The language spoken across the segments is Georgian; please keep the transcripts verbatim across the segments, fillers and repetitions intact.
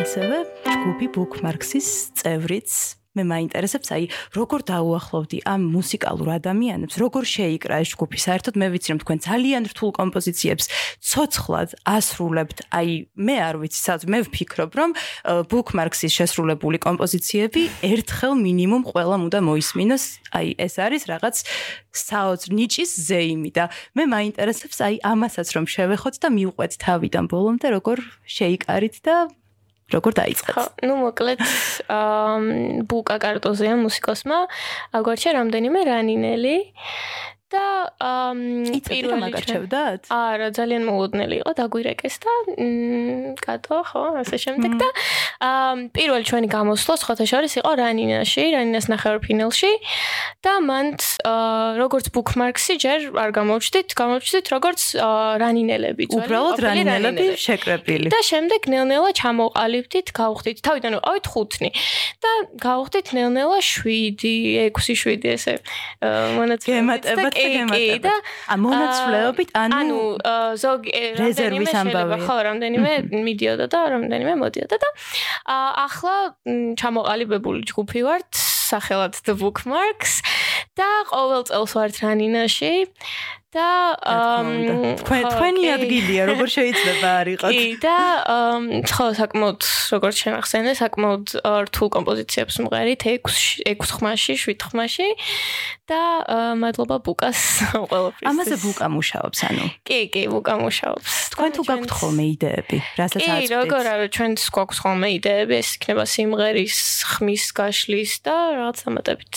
ასევე ჯგუფი Bookmarks-ის წევრიც მე მაინტერესებს, აი, როგორ დაუახლოვდი ამ მუსიკალურ ადამიანებს, როგორ შეიკრა ეს ჯგუფი. საერთოდ მე ვიცი, რომ თქვენ ძალიან რთულ კომპოზიციებს ცოცხლად ასრულებთ. აი, მე არ ვიცი, სადაც მე ვფიქრობ, რომ Bookmarks-ის შესრულებული კომპოზიციები ერთხელ მინიმუმ ყველამ უნდა მოისმინოს. აი, ეს არის რაღაც საოცრ ნიჭის ზეიმი და მე მაინტერესებს, აი, ამასაც რომ შევეხოთ და მივყვეთ თავიდან ბოლომდე, როგორ შეიკარით და როგორ დაიწყეთ? ხო, ну, მოკლედ, აა ბუკა კარტოზია მუსიკოსმა აგვარჩა რამდენიმე რანინელი და პირველი მაგარჩევდათ? არა, ძალიან მოულოდნელი იყო, დაგვირეკეს და კატო, ხო, ასე შემდეგ და პირველი ჩვენი გამოსვლა სხვათა შორის იყო რანინაში, რანინას ნახევარფინალში და მანდ როგორც Bookmarks-ი ჯერ არ გამოვჩდით, გამოვჩდით როგორც რანინელები, ძველი უბრალოდ რანინელები შეკრებილი. და შემდეგ ნელ-ნელა ჩამოვყალიბდით, გავხდით, თავიდან ვიყავით ხუთნი და გავხდით ნელ-ნელა შვიდი, ექვსი, შვიდი ესე მონაცვლეობით. კი და მონაცვლეობით ანუ ზოგი რეზერვის ამბავი. ხო, რამდენიმე მიდიოდა და რამდენიმე მოდიოდა და ახლა ჩამოყალიბებული ჯგუფი ვართ სახელად The Bookmarks და ყოველ წელს ვართ რანინაში და თქვენი ადგილია როგორ შეიძლება არ იყოთ? კი და ხო საკმაოდ როგორც შენახსენე საკმაოდ რთულ კომპოზიციებს მღერით ექვს ხმაში, შვიდ ხმაში და მადლობა ბუკას ყველაფრის. ამაზე ბუკა მუშაობს, ანუ. კი, კი, ბუკა მუშაობს. თქვენ თუ გაქვთ ხოლმე იდეები, რასაც აწვდით? კი, როგორ არა, ჩვენც გვაქვს ხოლმე იდეები, ეს იქნება სიმღერის ხმის გაშლის და რაღაც ამატებით.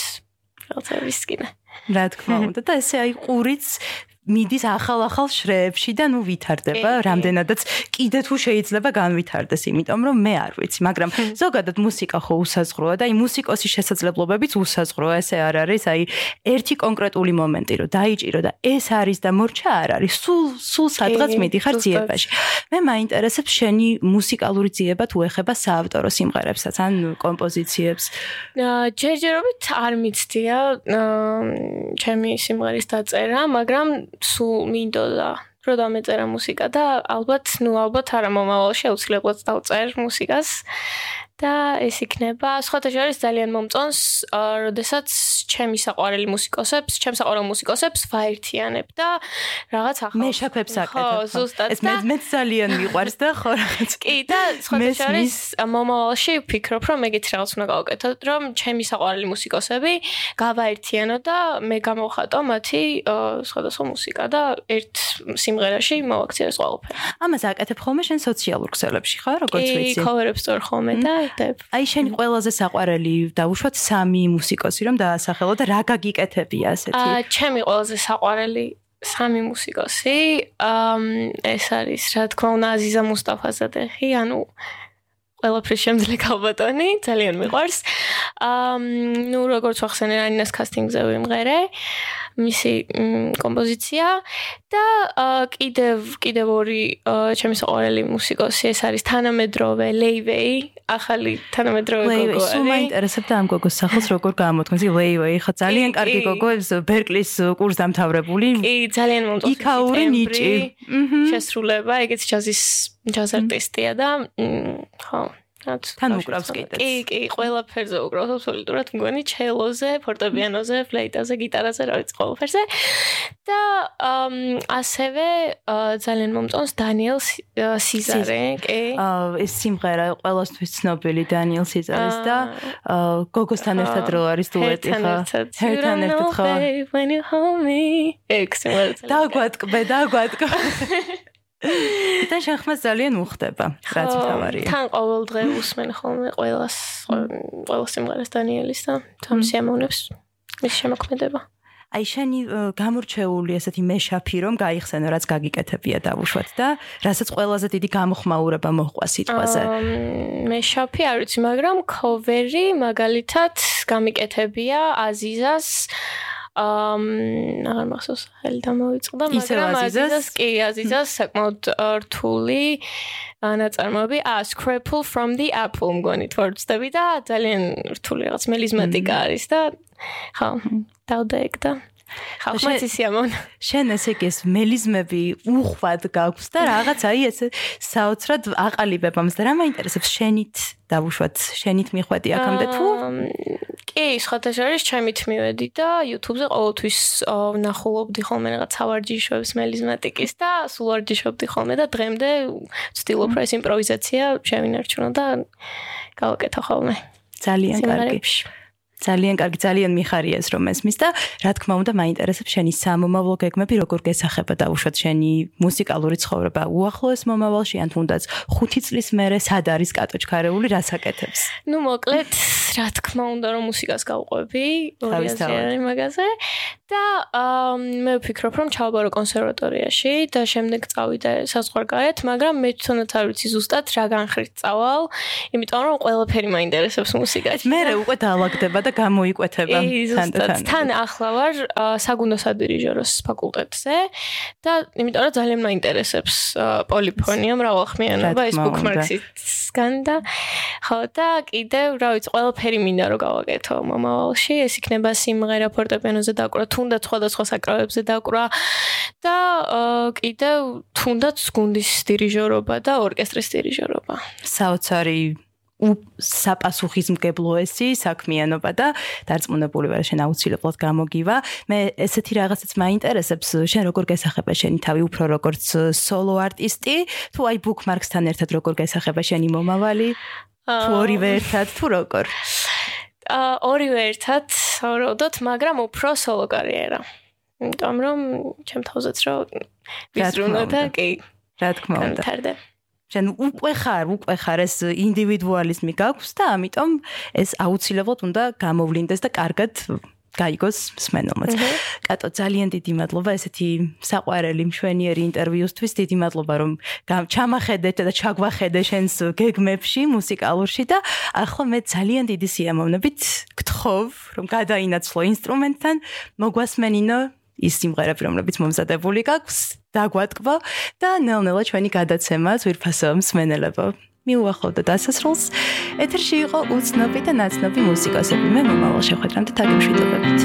რაღაცა ვისკინე. რა თქმა უნდა და ესე აი ყურიც მიდის ახალ-ახალ შრეებში და ნუ ვითარდება, რამდენადაც კიდე თუ შეიძლება განვითარდეს, იმიტომ რომ მე არ ვიცი, მაგრამ ზოგადად მუსიკა ხო უსაზღვროა და აი მუსიკოსის შესაძლებლობებიც უსაზღვროა, ესე არ არის, აი ერთი კონკრეტული მომენტი რომ დაიჭირო და ეს არის და მორჩა არ არის, სულ სულ სადღაც მიდიხარ ძიებაში. მე მაინტერესებს შენი მუსიკალური ძიება თუ ეხება საავტორო სიმღერებსაც ან კომპოზიციებს. ჯერჯერობით არ მიცდია ჩემი სიმღერის დაწერა, მაგრამ სულ მინდოდა რომ დამეწერა მუსიკა და ალბათ, ну, ალბათ არა მომავალში აუცილებლად დავწერ მუსიკას და ეს იქნება სხვათა შორის ძალიან მომწონს, როდესაც ჩემი საყვარელი მუსიკოსებს, ჩემს საყვარელ მუსიკოსებს ვაერთიანებ და რაღაც ახალ მეშაფებს აკეთებ. ხო, ზუსტად. ეს მე მე ძალიან მიყვარს და ხო რაღაც. კი და სხვათა შორის მომავალში ვფიქრობ, რომ ეგეთ რაღაც უნდა გავაკეთო, რომ ჩემი საყვარელი მუსიკოსები გავაერთიანო და მე გამოვხატო მათი სხვადასხვა მუსიკა და ერთ სიმღერაში მოვაქცია ეს ყველაფერი. ამას აკეთებ ხოლმე შენ სოციალურ ქსელებში, ხო, როგორც ვიცი? კი, cover-ებს წორ ხოლმე და აი შენი ყველაზე საყვარელი დავუშვათ სამი მუსიკოსი რომ დაასახელო და რა გაგიკეთებია ასეთი? აა ჩემი ყველაზე საყვარელი სამი მუსიკოსი ეს არის რა თქმა უნდა აზიზა მუსტაფაზადეხი, ანუ ყველაფრის შემძლე ქალბატონი, ძალიან მიყვარს. აა ნუ როგორც ვახსენე რანინას კასტინგზე ვიმღერე მისი კომპოზიცია და კიდევ კიდევ ორი ჩემი საყვარელი მუსიკოსი ეს არის თანამედროვე ლეივეი, ახალი თანამედროვე გოგო არის. სულ მაინტერესებდა ამ გოგოს სახელს როგორ გამოთქმის. ლეივეი ხო ძალიან კარგი გოგო, ბერკლის კურს დამთავრებული. კი, ძალიან მომწონს. იქაური ნიჭი. შესრულება, ეგეც ჯაზის ჯაზ არტისტია და ხო თან უკრავს კიდეც. კი, კი, ყველაფერზე უკრავს აბსოლუტურად მგონი, ჩელოზე, ფორტეპიანოზე, ფლეიტაზე, გიტარაზე, რა ვიცი, ყველაფერზე. და ასევე ძალიან მომწონს დანიელ სიზარე, კი. ეს სიმღერა ყველასთვის ცნობილი დანიელ სიზარის და გოგოსთან ერთად რო არის დუეტი, ხო? ერთთან ერთად ხო. When you hold me. ეგ სიმღერა. დაგვატკბე, დაგვატკბე. და შენ ხმას ძალიან უხდება, რაც მთავარია. თან ყოველ დღე უსმენ ხოლმე ყველას, ყველა სიმღერას დანიელის და თან სიამოვნებს მის შემოქმედება. აი შენი გამორჩეული ესეთი მეშაფი რომ გაიხსენო, რაც გაგიკეთებია დავუშვათ და რასაც ყველაზე დიდი გამოხმაურება მოჰყვა სიტყვაზე. მეშაფი არ ვიცი, მაგრამ ქოვერი მაგალითად გამიკეთებია აზიზას ამ აღარ მახსოვს ხელი დამოვიწყდა, მაგრამ აზიზას კი აზიზას საკმაოდ რთული ნაწარმოები a scraple from the apple მგონი თორწდები და ძალიან რთული რაღაც მელიზმატიკა არის და ხო დავდა ეგ და ხალხმაც ისი ამონა. შენ ესე კი ეს მელიზმები უხვად გაქვს და რაღაც აი ესე საოცრად აყალიბებ ამას და რა მაინტერესებს შენით დავუშვათ შენით მიხვედი აქამდე თუ კი სხვათა შორის ჩემით მივედი და YouTube-ზე ყოველთვის ვნახულობდი ხოლმე რაღაც ავარჯიშოებს მელიზმატიკის და სულ ვარჯიშობდი ხოლმე და დღემდე ვცდილობ რა ეს იმპროვიზაცია შევინარჩუნო და გავაკეთო ხოლმე. ძალიან კარგი. ძალიან კარგი, ძალიან მიხარია ეს რომ ესმის და რა თქმა უნდა მაინტერესებს შენი სამომავლო გეგმები, როგორ გესახება დაუშვათ შენი მუსიკალური ცხოვრება უახლოეს მომავალში, ან თუნდაც ხუთი წლის მერე სად არის კატო ჩქარეული, რას აკეთებს? ნუ მოკლედ, რა თქმა უნდა რომ მუსიკას გავყვები, ორი აზრი მაგაზე და მე ვფიქრობ რომ ჩავაბარო კონსერვატორიაში და შემდეგ წავიდე საზღვარგარეთ, მაგრამ მე თვითონაც არ ვიცი ზუსტად რა განხრით წავალ, იმიტომ რომ ყველაფერი მაინტერესებს მუსიკაში. მე უკვე დაალაგდება და გამოიკვეთება თანდათან. თან ახლა ვარ საგუნდო სადირიჟოროს ფაკულტეტზე და იმიტომ რომ ძალიან მაინტერესებს პოლიფონია, მრავალხმიანობა, ეს ბუქმარქსისგან და ხო და კიდევ რა ვიცი, ყველაფერი მინდა რომ გავაკეთო მომავალში, ეს იქნება სიმღერა ფორტეპიანოზე დაკვრა, თუნდაც სხვადასხვა საკრავებზე დაკვრა და კიდევ თუნდაც გუნდის დირიჟორობა და ორკესტრის დირიჟორობა. საოცარი საპასუხისმგებლოესი საქმიანობა და დარწმუნებული ვარ შენ აუცილებლად გამოგივა. მე ესეთი რაღაცაც მაინტერესებს, შენ როგორ გესახება შენი თავი უფრო როგორც სოლო არტისტი, თუ აი ბუქმარქსთან ერთად როგორ გესახება შენი მომავალი? თუ ორივე ერთად, თუ როგორ? ორივე ერთად, საუბრობთ, მაგრამ უფრო სოლო კარიერა. იმიტომ რომ ჩემ თავზეც რა ვიზრუნო და კი, რა თქმა უნდა. გამთარდა. შენ უკვე ხარ, უკვე ხარ ეს ინდივიდუალიზმი გაქვს და ამიტომ ეს აუცილებლად უნდა გამოვლინდეს და კარგად გაიგოს მსმენელმაც. კატო, ძალიან დიდი მადლობა ესეთი საყვარელი მშვენიერი ინტერვიუსთვის. დიდი მადლობა რომ ჩამახედეთ და ჩაგვახედე შენს გეგმებში, მუსიკალურში და ახლა მე ძალიან დიდი სიამოვნებით გთხოვ რომ გადაინაცვლო ინსტრუმენტთან, მოგვასმენინო ის სიმღერები, რომლებიც მომზადებული გაქვს, დაგვატკბო და ნელ-ნელა ჩვენი გადაცემა ძვირფასო მსმენელებო მიუახლოვდა დასასრულს. ეთერში იყო უცნობი და ნაცნობი მუსიკოსები. მე მომავალ შეხვედრამდე თაგემშვიდობებით.